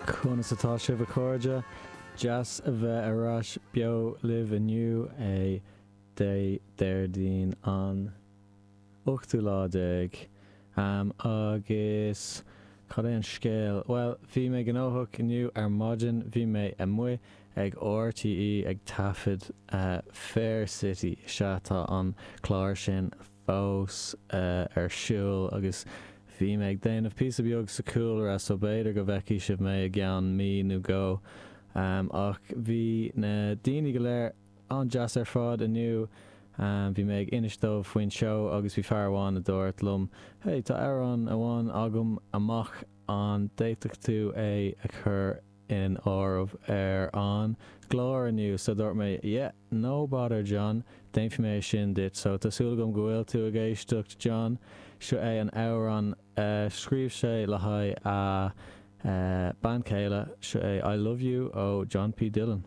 Conas atá sibh a chairde? Deas a bheith ar ais beo libh inniu, é Dé Déardaoin an ochtú lá déag. Agus cad é an scéal? Bhuel, bhí mé gnóthach inniu ar maidin, bhí mé amuigh ag RTÉ ag taifead Fair City, sea tá an clár sin fós ar siúl agus bhí mé ag déanamh píosa beag sa chúlra so b'fhéidir go bhfeicfidh sibh mé i gceann mí nó dhó. Ach bhí na daoine go léir an-deas ar fad inniu. Bhí mé ag inis dóibh faoin seó agus bhí fear amháin a dúirt liom hey tá amhrán amháin agam amach an bhféadfadh tú é a chur in áireamh ar an gclár inniu so dúirt mé yeah no bother John déanfaidh mé é sin duit so tá súil agam go bhfuil tú ag éisteacht John seo é an amhrán a scríobh sé le haghaidh a bean chéile seo é I Love You ó John P Dillon.